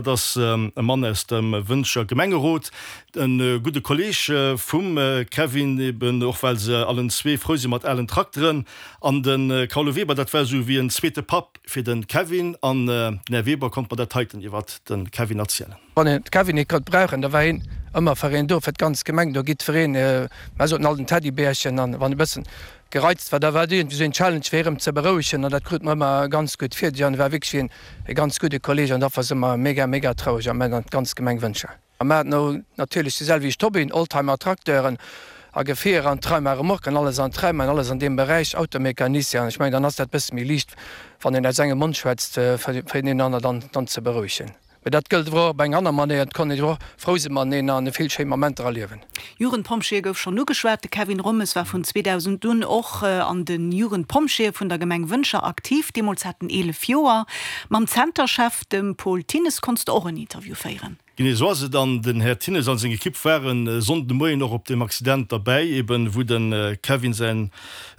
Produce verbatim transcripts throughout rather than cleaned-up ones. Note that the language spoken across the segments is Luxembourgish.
Dat ass e Mann aus dem Wëntger Gemengerot, e gudde Kolleeg vum Kevin, eben och well se allen zwee frou si mat alen Trakteren. An de Carlo Weber, dat war esou wéi en zweete Papp fir de Kevin. An den Här Weber konnt mer dat heiten iwwert de Kevin erzielen. Wann een de Kevin net konnt brauchen, da war hien ëmmer fir een do, fir d'ganz Gemeng. Do jiddwereen, mer soten all den Teddybärchen, an wann e bëssen gereizt war, da war et iergendwéi esou een Challenge fir hie rëm ze berouegen an dat krut mer ëmmer ganz gutt fir. An e war wierklech een e ganz gudde Kolleg an dofir si mer mega, mega traureg am Moment an d'ganz Gemeng Wëntger. A mer haten och natierlech déi selwecht Hobbyen, Oldtimer, Trakteuren a Gefierer an Treimer, Remorquen, alles an Treimer an alles an deem Beräich, Automecanicien. An ech mengen, dann ass dat bësse méi liicht, wann een aus engem Mond schwätzt, fir deen aner dann dann ze berouegen. Mee dat gëllt awer och op eng aner Manéier, et konnt een och frou si mateneen an vill schéin Momenter erliewen. Jugendpompjeeë gouf schonn ugeschwat. De Kevin Rommes war vun zweedausend un och an de Jugendpompjeeë vun der Gemeng Wëntger aktiv. Deemools hat en eelef Joer. Mam Zenterchef, dem Paul Thinnes, konns de och en Interview féieren. Genee esou ass et an den Här Thinnes an seng Ekipp waren e Sonnden de Moien och op deem Accident derbäi, eben wou de Kevin säin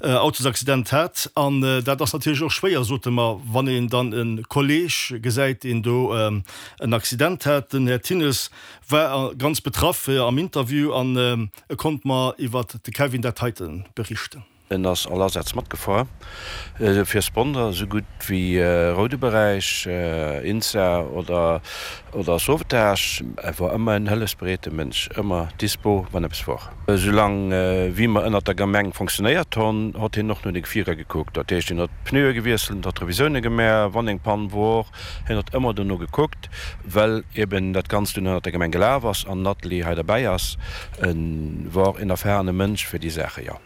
Autosaccident hat. An dat ass natierlech och schwéier, sote mer, wann een dann e Kolleeg gesäit, deen do en Accident hat. Den Här Thinnes war ganz betraff am Interview an e konnt mer iwwert de Kevin dat heite berichten. En ass all Asätz matgefuer, fir Sponder esou gutt wéi roude Beräich, INSA oder oder Sauvetage. E wor ëmmer en hëllefsbereete Mënsch, ëmmer dispo wann eppes wor. Esou lang wéi mer ënnert der Gemeng fonctionnéiert honn, hott hien och no de Gefierer gekuckt. Dat heescht, hien hott d'Pneue gewiesselt, hott Revisioune gemaach, wann eng Pann wor. Hien hott ëmmer dono gekuckt, well eben dat Ganzt dunn ënnert der Gemeng gelaf ass an den Atelier hei derbäi ass. E wor en erfahrene Mënsch fir déi Saache, jo.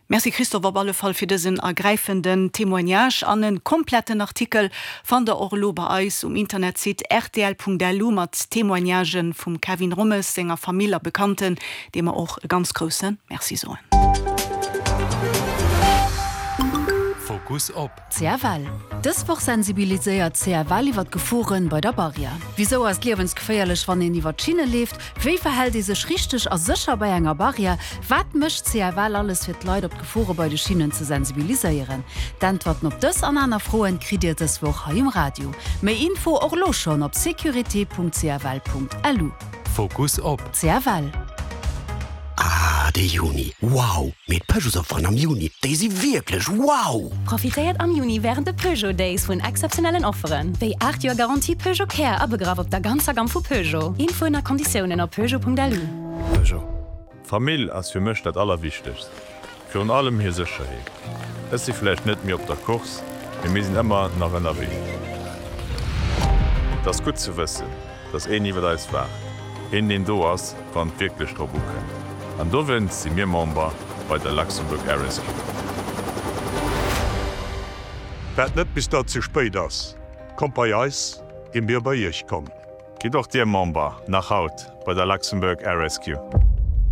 Merci Christophe op alle Fall fir dësen ergräifenden Témoignage. An e kompletten Artikel fannt der och elo bei eis um Internetsite rtl.lu mat Témoignagen vum Kevin Rommes, senger Famill a Bekannten, deem mer och e ganz grousse Merci soen. Fokus op. C F L. Dës Woch sensibiliséiert C F L iwwer d'Geforen bei der Barrière. Wisou ass et liewensgeféierlech, wann een iwwer d'Schinne leeft? Wéi verhält ee sech richteg a sécher bei enger Barrière? Wat mécht C F L alles fir d'Leit op d'Gefore bei de Schinnen ze sensibiliséieren? D'Äntwerten op dës an aner Froen kritt Dir dës Woch hei um Radio. Méi Info och elo schonn op securite punkt C F L punkt L U. Fokus op. C F L. Ah, de Juni, wow! Mee d'Peugeotsofferen am Juni, déi si wierklech wow! Profitéiert am Juni wärend de Peugeot Days vun exzeptionellen Offeren, wéi aacht Joer Garantie Peugeot Care abegraff op der ganzer Gamm vu Peugeot. Infoen a Konditiounen op peugeot punkt L U. Peugeot. Famill ass fir mech dat Allerwichtegst. Virun allem hir Sécherheet. Ech si vläicht net méi op der Course, mee mir sinn ëmmer nach ënnerwee. Et ass gutt ze wëssen, dass een iwwer eis waacht, een deen do ass, wann et wierklech drop ukënnt. An dowéinst si mir Member bei der Luxembourg Air Rescue. Waart net bis dat ze spéit ass. Kommt bei eis, ier mir bei iech kommen. Gitt och Dir Member, nach haut, bei der Luxembourg Air Rescue.